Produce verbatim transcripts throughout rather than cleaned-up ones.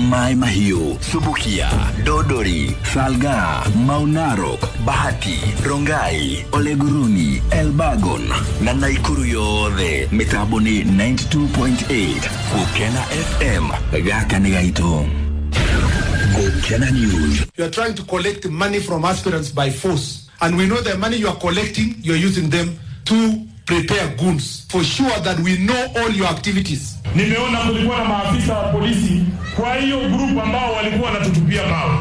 Mai Mahiu, Subukia, Dodori, Salga, Mau Narok, Bahati, Rongai, Oleguruni, Elbagon na Naikuru yothe mitambo ni ninety-two point eight Gukena F M. Gaka nĩ gaitũ. Gukena News. You are trying to collect money from aspirants by force. And we know the money you are collecting, you are using them to prepare goons. For sure that we know all your activities. Nimeona kulikuwa na maafisa wa polisi kwa hiyo group ambao walikuwa wanatutupia mawe.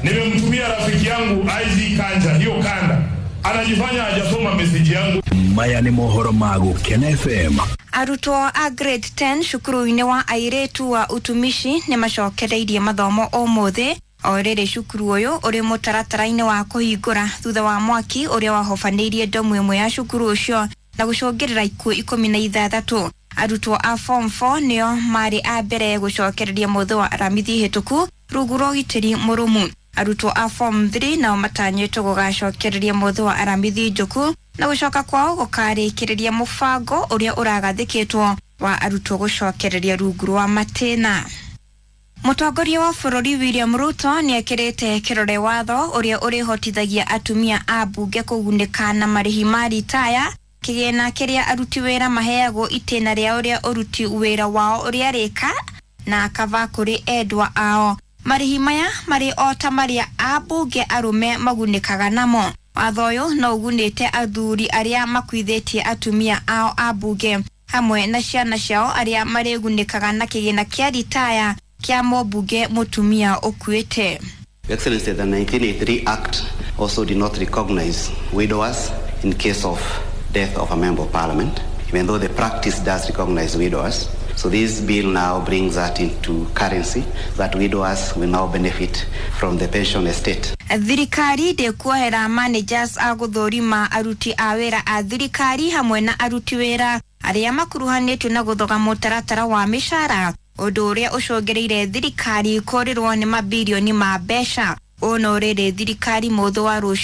Nimemtumia rafiki yangu I G Kanja hiyo kanda, anajifanya hajasoma meseji yangu. Maya nĩ mohoro ma Gukena F M. Arutwo a grade ten cukuru-inĩ wa airĩtu wa utumishi nĩ macokereirie mathomo ũmũthĩ, o rĩrĩ cukuru ũyũ ũrĩ mũtaratara-inĩ wa kũhingũra thutha wa mwaki ũrĩa wahobanĩirie ndomu ĩmwe ya cukuru ũcio na gũcũngĩrĩra ikuũ ikũmi na ithathatũ. Arutwo a form four nĩo marĩ a mbere gũcokereria mũthĩ wa Aramithi hĩtũku rungu rwa ũgitĩri mũrũmu. Arutwo a form three nao matanyĩtwo gũgacokereria mũthĩ wa Aramithi njũku, na gũcoka kwao gũkarĩkĩrĩria mũbango ũrĩa ũragathĩkĩtwo wa arutwo gũcokereria rungu rwa matĩna. Mũtongoria wa bũrũri William Ruto nĩ ekĩrĩte kĩrore watho ũrĩa ũrĩhotithagia atumia a mbunge kũgunĩka na marĩhi ma ritaya, kĩgĩna kĩrĩa aruti wĩra maheagwo itĩna rĩa ũrĩa ũruti wĩra wao ũrĩarĩka na kava kũrĩ endwa ao. Marĩhi maya marĩ o ta marĩa ambunge arũme magunĩkaga namo. Watho ũyũ no ũgunĩte athuri arĩa makuithĩtie atumia ao a mbunge hamwe na ciana ciao, arĩa marĩgunĩkaga na kĩgĩna kĩa ritaya kĩa mũmbunge mũtumia ũkuĩte. Your Excellency, the nineteen eighty-three Act also did not recognize widowers in case of death of a member of parliament, even though the practice does recognize widowers. So this bill now brings that into currency, that widowers will now benefit from the pension estate. Thirikari ndĩkuohera managers a gũthũrima aruti a wĩra a thirikari hamwe na aruti wĩra arĩa makuruhanĩtio na gũthoga mũtaratara wa mĩcara, ũndũ ũrĩa ũcũngĩrĩire thirikari kũrĩrwo nĩ mabirioni ma mbeca. Ũũ no rĩrĩ thirikari mũthĩ wa rũciũ.